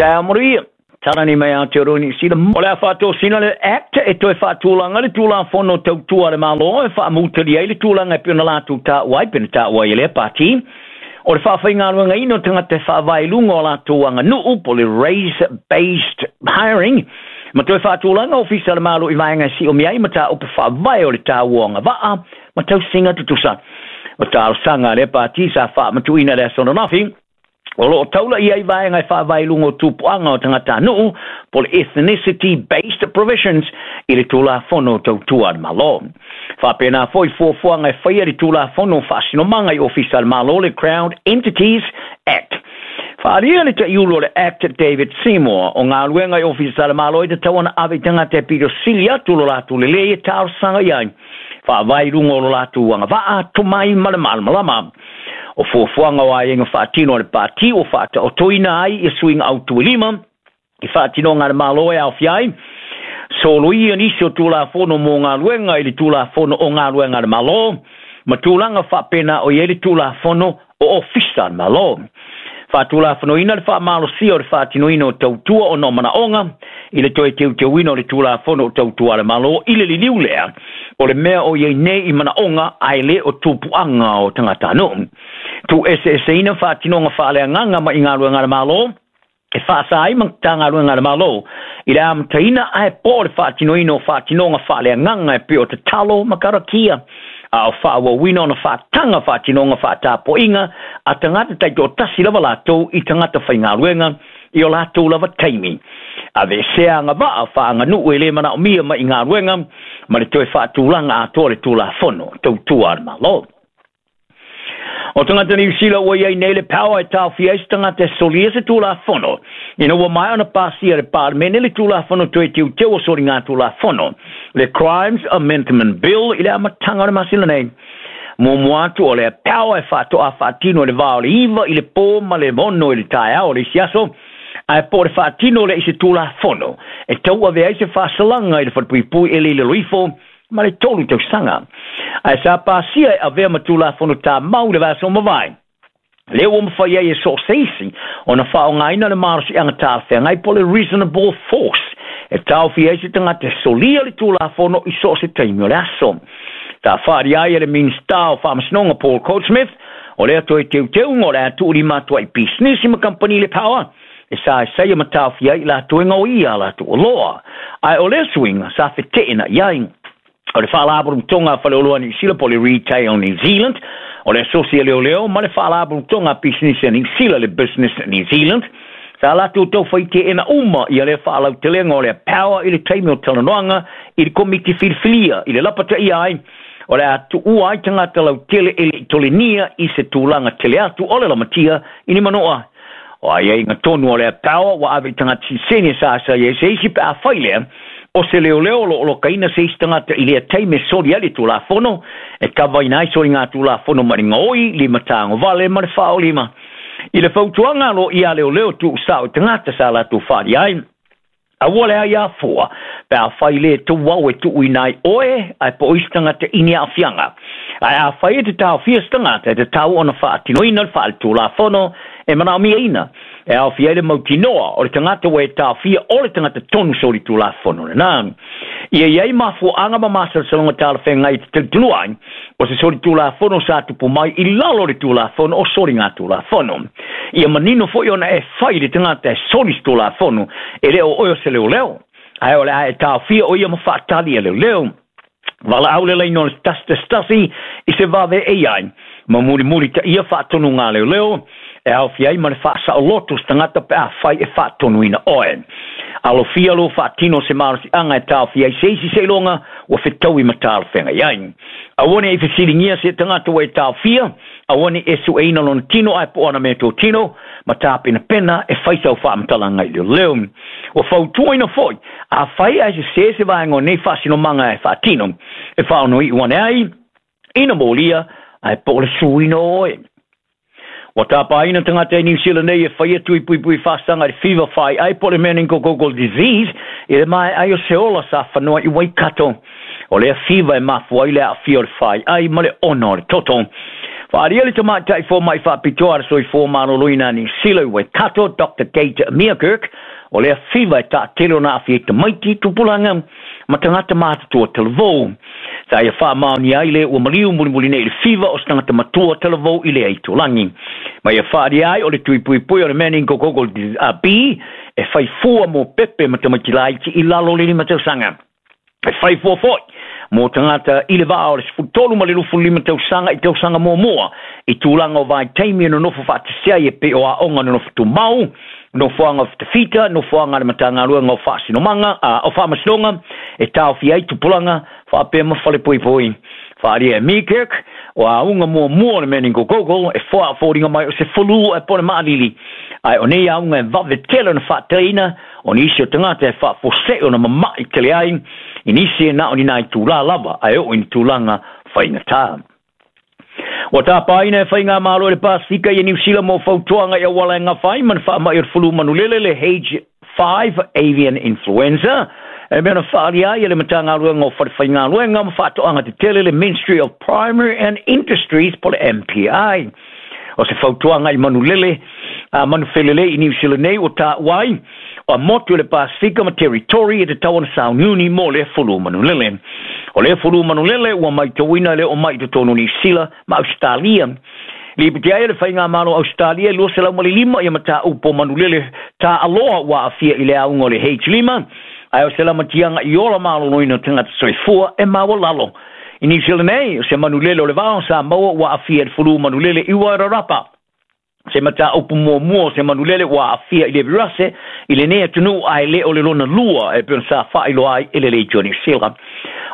Taeao manuia. Talani mai Aotearoa Niu Sila. O le a faatosina le Act e toe faatulaga le Tulafono Tautua a le Malo e faamutalia ai le tulaga e pei ona latou taua ai pe na taua ai e lea pati o le faafaigaluegaina o tagata e faavae i luga o latou aganuu po o le race based hiring ma toe faatulaga ofisa o le Malo i vaega e siomia ai mataupu faavae o le taua o agavaa ma tausiga tutusa. O talosaga a lea pati sa faamatuuina i le aso ananafi o lo o taula i ai vaega e faavae i luga o tupuaga o tagatanuu po o le ethnicity based provisions i le Tulafono Tautua a le Malo. Faapena foi fuafuaga e faia le Tulafono Faasinomaga i Ofisa a le Malo le Crown Entities Act. Faaalia le taiulu o le Act David Seymour o galuega i Ofisa a le Malo e tatau ona ave i tagata e pito sili atu lo latou lelei e talosaga i ai faavae i luga o lo latou agavaa, tomai ma le malamalama. O fuafuaga o aiaiga faatino a le Pati ua faataotoina ai ia suiga autu e lima i faatinoga a le Malo e aofia ai soloia nisi o Tulafono mo galuega i le Tulafono o Galuega a le Malo ma tulaga faapena o i ai le Tulafono o Ofisa a le Malo. Faatulafonoina le faamalosia o le faatinoina o tautua ona o manaoga i le toe teuteuina o le Tulafono o Tautua a le Malo i le liliu lea o le mea o i ai nei i manaoga ae le o tupuaga o tagatanuu. Tuueseeseina faatinoga faaleagaga mai galuega a le Malo e faasa ai Matagaluega a le Malo i le amataina ae po o le faatinoina o faatinoga faaleagaga e pei o tatalo ma karakia, a o faaauauina ona faataga faatinoga faatapoiga a tagata taitoatasi lava latou i tagata faigaluega i o latou lava taimi. Aveesea agavaa faaaganuu e le manaomia mai i galuega ma le toe faatulaga atoa o le Tulafono Tautua a le Malo. O tagata Niu Sila ua i ai nei le power e taofia ai se tagata e solia se Tulafono ina ua maea ona pasia e le Palemene le Tulafono Toe Teuteu o Soligatulafono, le Crimes Amendment Bill i le amataga o le masina nei. Muamua atu o lea power e faatoa faatino i le va o le 9 i le pō ma le 6 i le taeao o le isi aso, ae po o le faatino lea i se Tulafono e tauave ai se faasalaga i le falepuipui e le i lalo ifo ma le 3 tausaga. Ae sa pasia e avea ma Tulafono Tamau i le vaiaso ua mavae, lea ua mafai ai e so o se isi ona faaaogaina le malosiaga talafeagai po o le reasonable force e taofia ai se tagata e solia le Tulafono i so o se taimi o le aso. Sa faaalia ai e le Minisita o Faamasinoga Paul Goldsmith o lea toe teuteuga o le a tuulima atu ai i pisinisi ma kamupani le power e saesaia ma taofia ai i latou e gaoia a latou oloa. Ae o lea suiga sa feteena i ai o le Faalapotopotoga a Faleoloa Niu Sila po o le Retail New Zealand, o le Asosi a Leoleo ma le Faalapotopotoga a Pisinisi a Niu Sila, le Business New Zealand, sa latou taufai teena uma ia lea faalautelega o lea power i le taimi o talanoaga i le komiti filifilia i le lapataia ai o le a tuua ai tagata lautele e le i tolenia i se tulaga tele atu o le lamatia i ni manoa. O aiaiga tonu o lea power ua ave i tagata siliseni e sasae ai se isi pe afai lea o se leoleo o lo o lokaina se isi tagata i lea taimi e soli ai le Tulafono e kavaina ai soligatulafono ma le gaoi, limatagovale ma le faaolima. I le fautuaga a loia leoleo tuusao i tagata sa latou faaalia ai, Aua le ai afua, pe afai le tou ao e tuuina ai oe, ae po o isi tagata i ni aafiaga. Ae afai e te taofia se tagata, e tatau ona faatinoina le faaletulafono e manaomiaina, e aofia ai le mautinoa o le tagata ua e taofia o le tagata tonu solitulafono lena. Ia i ai mafuaaga ma masalosaloga talafeagai e te talitonua ai, o se solitulafono sa tupu mai i lalo o le Tulafono o Soligatulafono. Ia manino foi ona e fai i le tagata e soli se Tulafono, e le o oe o se leoleo, ae o le a e taofia o ia ma faatali e leoleo. Valaau le laina o le 111 i se vave e i ai, ma mulimulitaia faatonuga a leoleo, e aofia ai ma le faasaoloto o se tagata pe afai e faatonuina oe. Alofia lou faatino o se malosiaga e taofia ai se isi seiloga ua fetaui ma talafeagai ai. Aua ne i fesiligia se tagata ua e taofia, aua ne i e sueina lona tino ae po o ana meatotino, ma tapenapena e fai sau faamatalaga i leoleo. Ua fautuaina foi, afai ae sesē se vaega o nei faasinomaga e faatino, e faaonoiʻu ane ai, ina molia, ae po o le suina o oe. Ua tapaina tagata i Niu Sila nei e faia tui puipui faasaga i le fiva faiai po o le meningococcal disease i le maeai o se ola sa fanoa i Waikato. O lea fiva e mafua ai le aafia o le faiai ma le ona o le toto. Faaalia le tamaitai fomaʻi faapitoa a le Soifua Maloloina a Niu Sila i Waikato, Dr Kate Meerkerk, o lea fiva e taatele ona aafia ai tamaiti, tupulaga ma tagata matutua talavou. Sa ia faamaonia ai le ua maliu mulimuli nei i le fiva o se tagata matua talavou i lea itulagi. Ma ia faaalia ai o le tuipuipui o le meningococcal B e fai fua mo pepe ma tamaiti laiti i lalo o le 5 tausaga. E fai fua foi mo tagata i le vaa o le 13 ma le 25 tausaga i tausaga muamua i tulaga o vaitaimi e nonofo faatasi ai e pei o aoga nonofo tumau, nofoaga o fitafita, nofoaga a le Matagaluega o Faasinomaga, o Faamasinoga e taofia ai tupulaga faapea ma falepoipoi. Faaalia e Meerkerk, o auga muamua o le meningococcal e foliga mai o se fulu ae po o le maalili, ae o nei auga e vave tele ona faateleina o nisi o tagata e faafuasei ona mama'i tele ai i nisi e na o ni nai tula lava ae oo i ni tulaga faigata. Ua tapaina e faigamalo i le Pasefika ia Niu Sila mo fautuaga i auala e gafa ai ma ni faama'i o le fulu manulele le H5 avian influenza e mea na faaalia ai e le Matagaluega o Falefaigaluega ma Faatoaga Tetele le Ministry of Primary and Industries po o le MPI. O se fautuaga i manulele a manufelelei i Niu Sila nei ua taua ai o motu i le Pasefika ma Territory e tatau ona sauniuni mo lea fulu manulele. O lea fulu manulele ua maitauina e le oo mai i totonu o Niu Sila ma Ausetalia. Lipoti ai e le Faigamalo o Ausetalia e 205 ia mataupu o manulele taaloa ua aafia i le auga o le H5, ae o se lamatiaga i ola maloloina o tagata soifua e maualalo. I Niu Sila nei, o se manulele o le vao sa maua ua aafia i le fulu manulele i Wairarapa. Se mataupu muamua o se manulele ua aafia i le virase i lenei atunuu ae le o le lona lua e pei ona sa faailoa ai e le Leitio Niu Sila.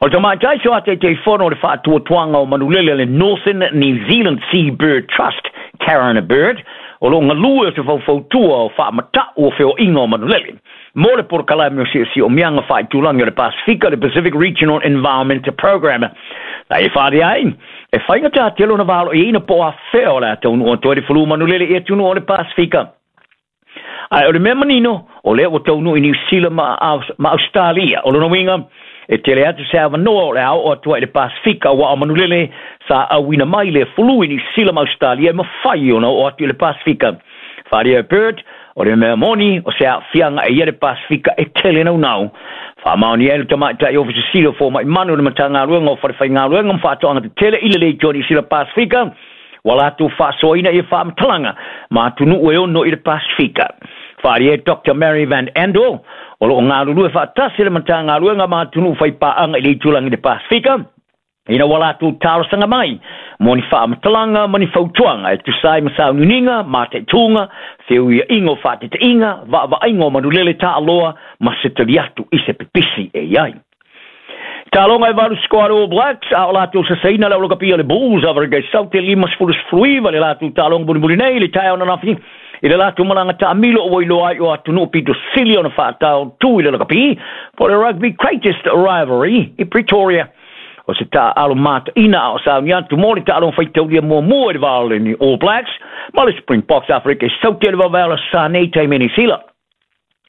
O le tamaitai soa taitaifono o le faatuatuaga o manulele a le Northern New Zealand Seabird Trust, Karen Bird, o loo galue o se faufautua o faamata'u o feoaiga o manulele mo le polokalame o si'osi'omiaga faaitulagi o le Pasefika, le Pacific Regional Environment Program. Na e faaalia ai e faigatā tele ona valoiaina po o afea o le a taunuu atu ai le fulu manulele i atunuu o le Pasefika. Ae o le mea manino, o lea ua taunuu i Niu Sila ma Ausetalia. O lona uiga, e tele atu se avanoa o le a oo atu ai i le Pasefika, aua o manulele sa auina mai le fulu i Niu Sila ma Ausetalia e mafai ona oo atu i le Pasefika. Faaalia e Bird, o le mea moni o se aafiaga e ia le Pasefika e tele naunau. Faamaonia ai le tamaitai Ofisa Sili o Fomaʻi Manu o le Matagaluega o Falefaigaluega ma Faatoaga Tetele i le Leitio Niu Sila Pasefika, ua latou faasoaina ia faamatalaga ma atunuu e ono i le Pasefika. Faaalia e Dr Mary Van Andel, o loo galulue faatasi le Matagaluega ma atunuu faipaaga i le itulagi i le Pasefika, ina ua latou talosaga mai mo ni faamatalaga ma ni fautuaga e tusa ai ma sauniuniga, mataituga, feuiaʻiga o faatetaiga, vaavaaiga o manulele taaloa ma se tali atu i se pipisi e iai. Taaloga e valu sikoa le All Blacks a o latou sasaina le aulakapia le Bulls Afrika i Saute 59 le latou taaloga mulimuli nei i le taeao ananafi i le latou malaga taamilo ua iloa ai o atunuu pito sili ona faataotū i le lakapi po o le Rugby Greatest Rivalry i Pretoria. O se taaalo mataina a o sauni atu mo le taaloga faitaulia muamua i le va o le All Blacks ma le Springboks Afrika i Saute le vavae o le sa nei taimi Niu Sila.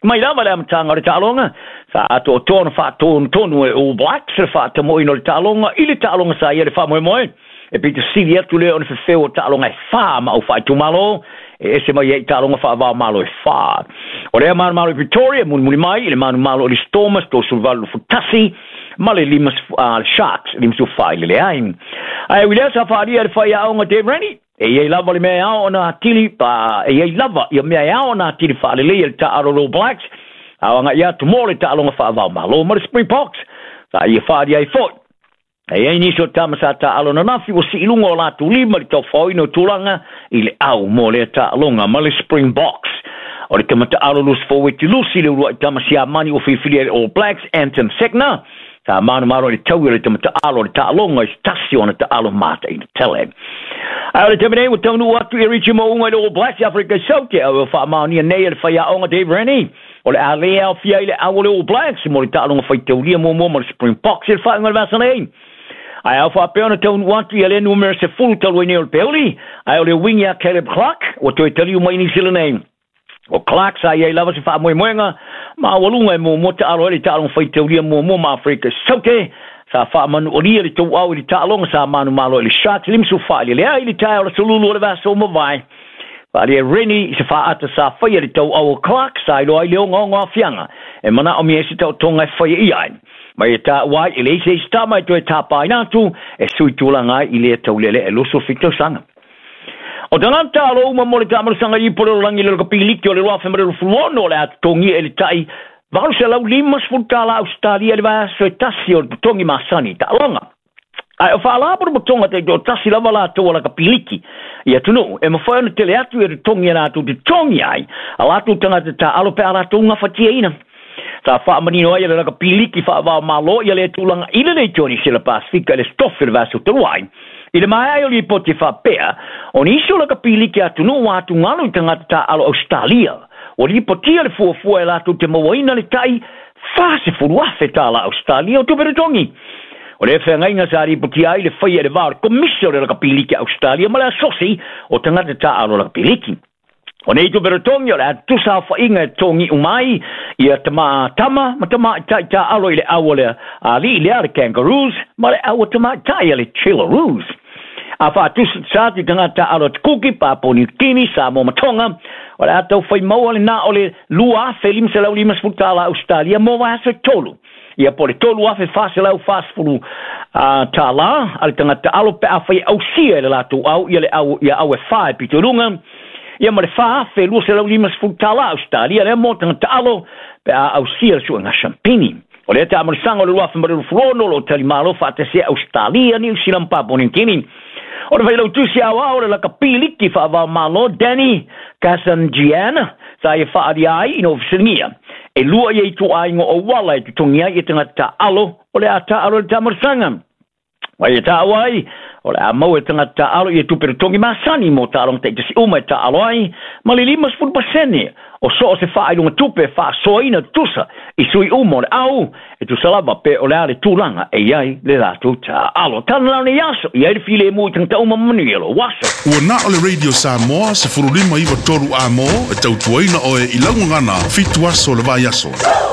Mai lava le amataga o le taaloga, sa atoatoa ona faatonutonu e All Blacks le faatamoina o le taaloga i le taaloga sa ia le faamoemoe. E pito sili atu lea ona fefeu o taaloga e 4 ma au faaitumalo e ese mai ai i taaloga faavaomalo e 4. O lea manumalo i Pretoria, mulimuli mai i le manumalo o le Stormers 38-21 ma le 5 le Sharks 54 i le leai. Ae ui lea sa faaalia e le faiaoga Dave Rennie, e iai lava le mea e ao ona atili pa e iai lava ia mea e ao ona atili faaleleia le taaalo o All Blacks a o agaʻi atu mo le taaloga faavaomalo ma le Springboks. Sa ia faaalia ai foi e iai nisi o tama sa taaalo ananafi ua sii luga o latou lima i le taufaoina o tulaga i le au mo lea taaloga ma le Springboks. O le tama taaalo loose forward Lusi le uluai tama siamani ua filifilia e le All Blacks Anton Segner sa manumalo i le taui o le tama taaalo o le taaloga i se tasi o ana taalo mataina tele. Ae o le taimi nei ua taunuu atu i Richie Mo'unga i le All Blacks i Afrika i Saute, a ua faamaonia nei e le faiaoga Dave Rennie o le a lē aofia ai le au o le All Blacks mo le taaloga faitaulia muamua ma le Springboks i le faaiuga o le vasa nei. Ae ao faapea ona taunuu atu ia lea numera 10 talu ai nei o le peuli, ae o le uiga ia Caleb Clark ua toe taliu mai i Niu Sila nei. O Clark sa iai lava se faamoemoega maualuga e muamua taalo ai le taaloga faitaulia muamua ma Afrika i Saute. Sa faamanualia le tauau i le taaloga sa manumalo i le Sharks 54 i le 0 i le taeao o le aso Lulu o le vaiaso ua mavae. Faaalia e Rennie i se faaata sa faia i le tauau o Clark sa iloa ai le ogaoga o aafiaga e manaomia ai se taotoga e faia i ai. Ma ia taua ai e leai se isi tama e toe tapaina atu e sui tulaga ai i lea taulealea e 27 tausaga. O tagata taaalo uma mo le taamalosaga i ipu o le lalolagi i le Lakapiliki o le 2026 o le a totogia i le tai $850 tala Ausetalia i le vaiaso e tasi o le totogi masani i taaloga. Ae o faalapotopotoga taitoatasi lava latou a lakapiliki i atunuu e mafai ona tele atu ia totogi e latou te totogi ai a latou tagata taaalo pe a latou gafatiaina. Sa faamanino ai e le lakapiliki faava-o-Malo ia lea tulaga i le Leitio Nisila Pasefika i le Aso Tofi o le vaiaso talu ai. I le maea ai o lipoti e faapea, o nisi o lakapiliki a atunuu ua atugalu i tagata taaalo Ausetalia, ua lipotia le fuafua e latou te mauaina le tai $40,000 tala Ausetalia o tupe totogi. O lea feagaiga sa lipotia ai le faia i le va o le Komisi o le Lakapiliki a Ausetalia ma le Asosi o Tagata Taaalo Lakapiliki. O nei tupe totogi o le a tutusa aofaiga e totogi uma ai ia tama tama ma tamaitai taaalo i le au a le alii lea a le Kangaroos ma le au a tamaitai a le Chillaroos. A faatusatusa atu i tagata taaalo a te Kuki, Papua New Guinea, Samoa ma Tonga, o le a taufai maua le na o le $2,550 tala Ausetalia mo vaiaso e tolu. Ia po o le $3,440 tala a le tagata taaalo pe afai e ausia e le latou au ia le au ia au e fa e pito i luga, ia ma le $4,250 tala Ausetalia lea mo tagata taaalo pe a ausia le suega sampini. O lea taamalosaga o le 2026 o lo o talimalo faatasi ai Ausetalia, Niu Sila ma Papua New Guinea. O le failautusi aoao o le lakapiliki faava-o-Malo Danny Kazandjian sa ia faaalia ai ina ua fesiligia e lua ia ituaiga o auala e totogi ai ia tagata taaalo o le a taaalo i le taamalosaga. Ma ia taua ai, o le a maua e tagata taaalo ia tupe totogi masani mo taaloga taitasi uma e taaalo ai, ma le 50% o so o se faailuga tupe e faasoaina tutusa i sui uma o le au, e tusa lava pe o le a le tulaga e i ai le latou taaalo. Tala la o nei aso, i ai le filemu i tagata uma ma manuia lou aso. Ua na o le Radio Samoa 15 9 3 A mo e tautuaina oe i lau gagana 7 aso o le vaiaso.